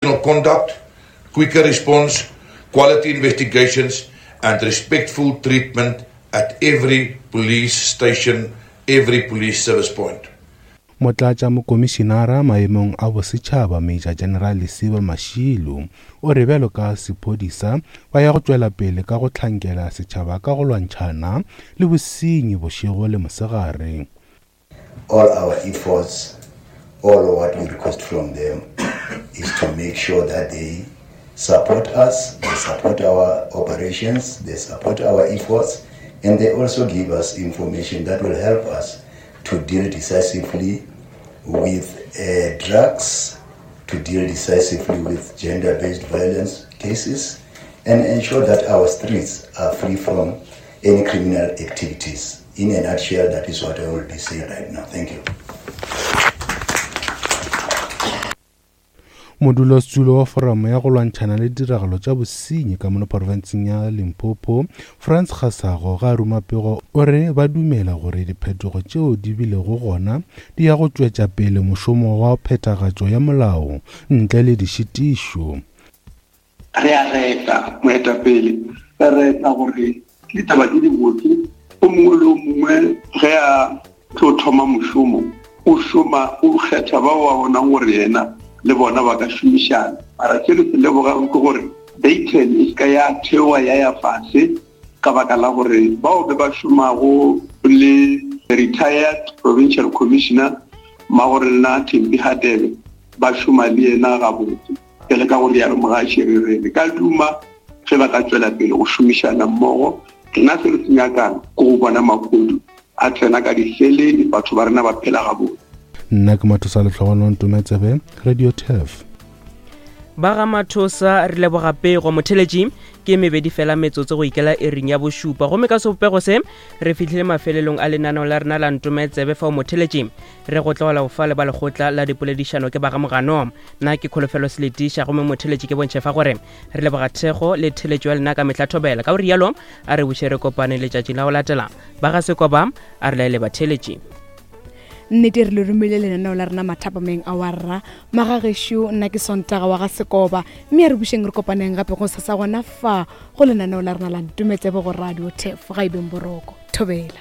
Conduct, quicker response, quality investigations and respectful treatment at every police station, every police service point. Motlatšamokomišinara maemong a bosetšhaba Major General Lesiba Mashilo o re bjalo ka sephodisa ba ya go tšwela pele ka go hlankela setšhaba ka go lwantšhana le bosenyi bošego le mosegare. All our efforts, all what we request from them is to make sure that they support us, they support our operations, they support our efforts, and they also give us information that will help us to deal decisively with uh, drugs, to deal decisively with gender-based violence cases, and ensure that our streets are free from any criminal activities. In a nutshell, that is what I will be saying right now. Thank you. Modulasetulo wa Foramo ya go Lwantšhana le Ditiragalo tša Bosenyi ka mono profenseng ya Limpopo, Frans Kgasago ge a ruma pego o re ba dumela gore diphetogo tšeo di bilego gona di ya go tšwetša pele mošomo wa phethagatšo ya molao ntle le dišitišo. Re a reta moetapele, re reta gore ke ditaba tše dibotse. O mongwe le o mongwe ge a tlo thoma mošomo o šoma o kgetha bao ba bonang gore yena le bona ba ka šomišana. Mara se re se lebogang ke gore Dayton e se ka ya theoga ya ya fase ka baka la gore bao be ba šomago le retired provincial commissioner Mmagorena Thembi Hadebe ba šoma le yena gabotse. Bjale ka go rialo mogaši re re re ka duma ge ba ka tšwela pele go šomišana mmogo. Rena se re se nyakang ke go bona mahodu a tsena ka diseleng, batho ba rena ba phela gabotse. Nna ke Mathosa Lehlogonolo Ntometsebe, Radio Turf. Ba ga Mathosa re leboga pego. Motheletši ke mebedi fela metsotso go ikela iring ya bošupa gomme ka sebopego se re fihlile mafelelong a lenaneo la rena la Ntometsebe fao motheletši re go tlogela go fa le ba lekgotla la dipoledišano ke ba ga Mogano. Nna ke Kholofelo Seletiša gomme motheletši ke bontšhe fa gore re leboga thekgo le theletšo ya lena ka mehla thobela. Ka go rialo a re buše re kopane letšatši la go latela. Ba ga Sekoba a re laele batheletši. Nnete re le romile lenaneo la rena mathapameng a wa rra magagešo. Nna ke Sontaga wa ga Sekoba mme a re bušeng re kopaneng gape go sasa gona fa go lenaneo la rena la Ntometsebe go Radio Tef. Ga e beng boroko. Thobela.